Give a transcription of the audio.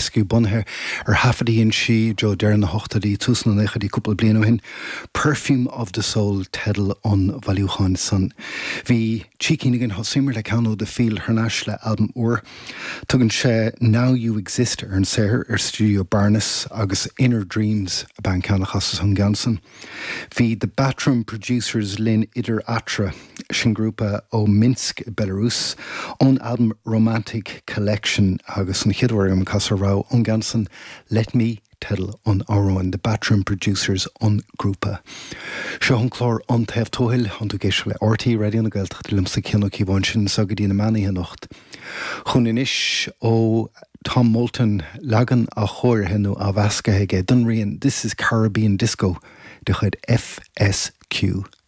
Rescue bunaithe ar thaifead a dhein sí i dtreo deireadh na hochtóidí, tús na naochaidí cúpla bliain ó shin. Perfume of the Soul teideal an bhailiúcháin san. Bhí trí cinn againn, thosaíomar le ceann ó The Field thar n-ais le albam úr. Tugann sé Now You Exist ar an saothar ar Studio Barnhus agus Inner Dreams ab ea an ceann a chasas ón gceann san. Bhí The Bathroom Producers linn idir eatarthu, sin grúpa ó Minsk i Belarus, ón albam Romantic Collection agus an chéad uair agam ag casadh rogha ón gceann san, Let Me teideal an amhráin, The Bathroom Producers an grúpa. Seo an clár An Taobh Tuathail, tá tú ag éisteacht le RTÉ Raidió na Gaeltachta liomsa Cian Ó Cíobháin sin anseo go dtí na meánoíche anocht. Chugainn anois ó Tom Moulton, leagan athchóirithe nó athmheascaithe aige don rian This is Caribbean Disco de chuid FSQ.